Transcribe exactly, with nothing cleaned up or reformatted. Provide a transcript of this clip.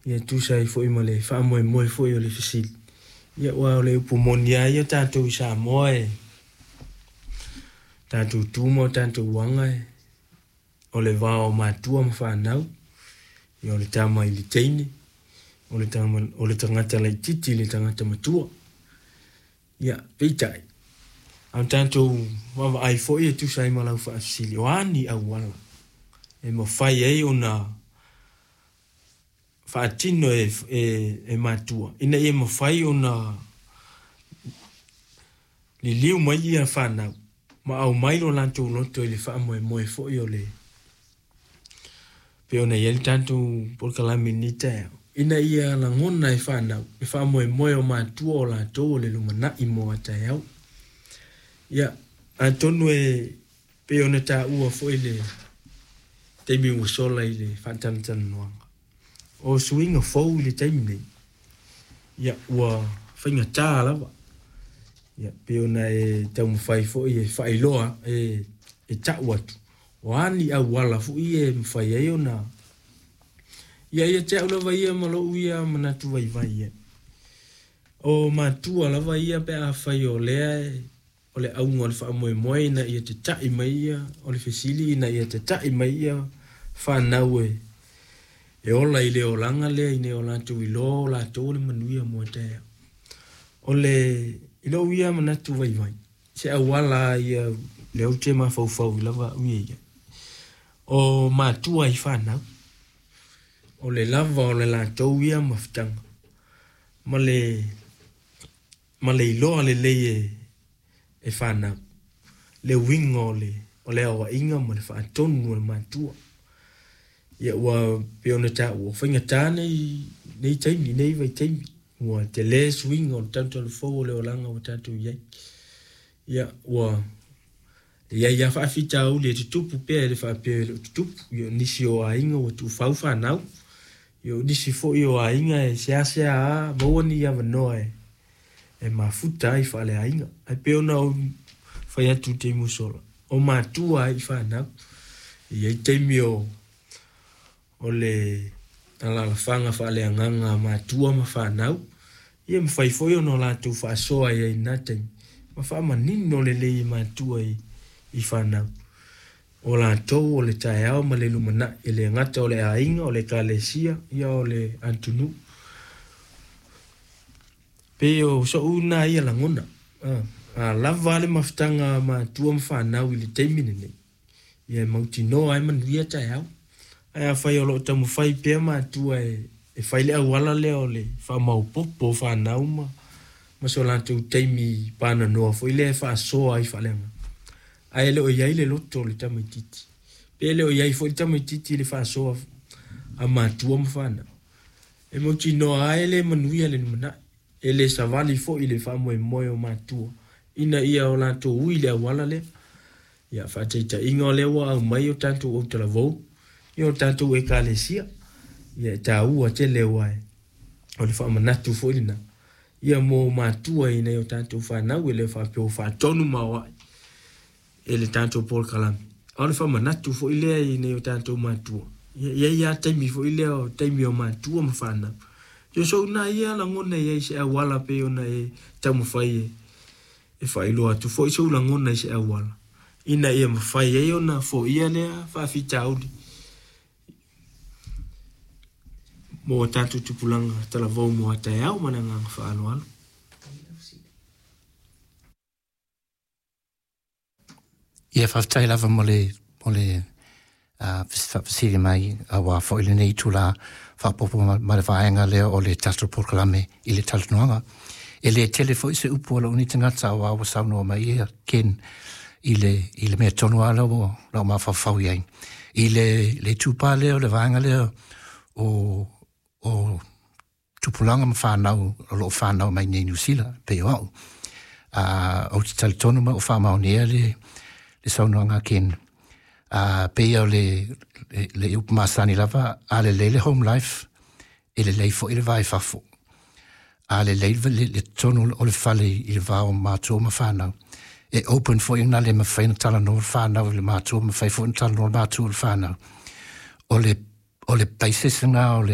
Ia tusa ai foi ma le faamoemoe foi o le fesili. Ia aua o le upu moni lava ia tatou i Samoa e tatou tu ma o tatou aga e o le va o matua ma fanau, ia o le tama i le teine, o le tama, o le tagata laitiiti i le tagata matua. Ia, peitai, a o tatou vaavaai foi e tusa ai ma lau faafesili, o a ni auala e mafai ai ona faatino e, e, e matua ina ia mafai ona liliu mai ia fanau ma aumai lo latou loto i le faamoemoe foi o le pei ona i ai le tatou polokalame i lenei taeao, ina ia lagona e fanau le faamoemoe o matua o latou o le lumanai mo a taeao. Ia, atonu e pei ona taua foi le taimi ua sola i le faatalatalanoaga, o suiga fou i le taimi nei, ia ua faigata lava. Ia, pei ona e taumafai foi e faailoa, e, e tau atu, o a ni auala foi e mafai ai ona ia ia te au lava ia ma lou ia manatu vaivai ai. O matua lava ia pe afai o lea e, o le auga o le faamoemoe ina ia tata'i mai ia, o le fesili ina ia tata'i mai ia fanau e, e ola i le olaga lea ina ia o latou iloa o latou o le manuia mo taeao. O le, i lou ia manatu vaivai, se auala ia lea ou te mafaufau i lava au ia i ai. O matua i fanau, o le lava o le latou ia mafutaga, ma le, ma le iloa lelei e, e fanau, le uiga o le, o le aoaiga ma le faatonu o le matua. Ia ua pei ona taua, faigata nei, nei taimi, nei vaitaimi, ua tele suiga o le talutalufou o le olaga ua tatou i ai. Ia ua i ai lava faafitauli e tutupu pea e le faapea e le o tutupu. Ia o nisi o aiga ua tuufau fanau, ia o nisi foi o aiga e seasea lava maua ni avanoa e, e mafuta ai faaleaiga. Ae pei ona ou fai atu i le taimi ua sola, o matua ai i fanau. E i ai taimi o o le alaalafaga faaleagaga a matua ma fanau, ia mafai foi ona o latou faasoa ai i lena taimi, ma faamanino lelei e matua i, i fanau. O latou o le taeao ma le lumanai, e le gata o le aiga, o le ekalesia, ia o le atunuu. Pei o so'u lena ia lagona, a lava le mafutaga a matua ma fanau i le taimi lenei, ia e mautinoa ai manuia taeao. Ae afai o lo o taumafai pea matua e, e fai le auala lea o le faamaopoopo o fanau ma, ma so latou taimi pananoa foi lea e faasoa ai faaleagaga, ae le o i ai le loto o le tamaitiiti, pe le o i ai foi le tamaitiiti i le faasoa a matua ma fanau, e mautinoa ai le manuia le lumanai. E le savali foi le faamoemoe o matua ina ia o latou ui le auala lea. Ia faataitaiga o lea ua aumai o tatou autalavou, ia o tatou ekalesia, ia e taua tele aua e o le faamanatu foi lena ia mo matua ina ia o tatou fanau, e le faapea ua faatonu ma aoai e le tatou polokalame, a o le faamanatu foi lea ina ia o tatou matua. Ia e i ai lava taimi foi lea o taimi o matua ma fanau. Ia so na ia lagona i ai se auala pei ona e taumafai e, e faailoa atu foi sou lagona i se auala ina ia mafai ai ona foia lea faafitauli mo tatou tupulaga talavou mo a taeao ma le agaga faaaloalo. Ia faafetai lava mo le, mo le uh, faafesili mai auā foi lenei itulā faaopoopo ma, ma le vaega lea o le tatou polokalame i le talanoaga. E lē tele foi se upu a lou nei tagata auā ua saunoa mai ia Ken i le, i le mea tonu lava lea ua lau mafaufau i ai. I le, le itupa lea o le vaega lea o, o tupulaga ma fanau o loo fanau mai nei Niu Sila pei o au. Uh, ou te talitonu ma ua faamaonia le, le saunoaga a Ken. Uh, pei o le, le, le upu masani lava, a lelei le home life, e lelei foi le va i fafo. A lelei le, le, le totonu o le fale i le va o matua ma fanau, e open foi ina le mafai ona talanoa le fanau i le matua, mafai foi ona talanoa le matua i le fanau. O le, o le basis lena o le,